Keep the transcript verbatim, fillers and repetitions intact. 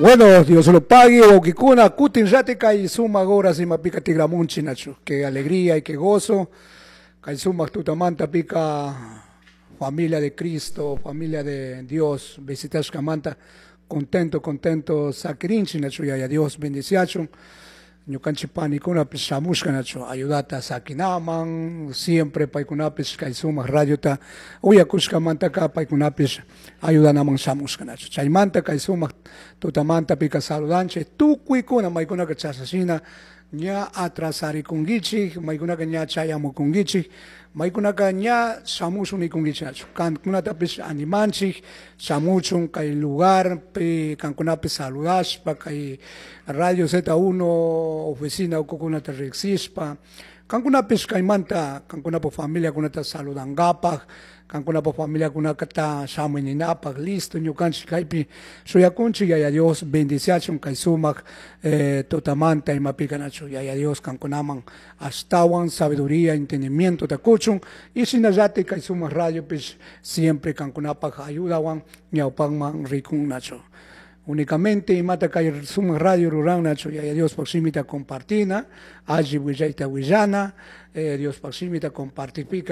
Bueno, Dios lo pague, wawkikuna, kutin kay sumak horas imapika tikramunchik nachu. Qué alegría y qué gozo. Kay sumak tutamanta pika familia de Cristo, familia de Dios, visitashkamanta, contento, contento, sakirinchik nachu, yaya Dios bendiciachun. Ñukanchik panikunapish shamushka nachu ayudata sakinaman, siempre paykunapish kay sumak radiota uyakushkamantaka paykunapish ayudanaman shamushka nachu. Chaymanta kay sumak tutamanta pika saludanchik tukuykuna maykunaka chashashina ña atrasarikunkichik, maykunaka ña chayamukunkichik, maykunaka ña shamushun nikunkichik nachu. Kankunatapish animanchik shamuchun kay lugarpi kankunapish saludashpa kay Radio Z uno oficina ukukunata riksishpa kankunapish kaymanta kankunapuk familiakunata saludankapak, kankunapuk familiakunata shamuy ninapak listo ñukanchik kaypi shuyakunchik. Yaya Dios bendiciachun kay sumak eh, tutamanta imapika nachu. Yaya Dios kankunaman ashtawan sabiduría, entendimiento kuchun y shinallatik kay sumak radiopish siempre kankunapak ayudawan ñawpakman rikun nachu. Únicamente imata kay sumak radio ruran nachu, Yaya Dios shimita compartina, alli willayta willana, eh, Dios shimita compartipika.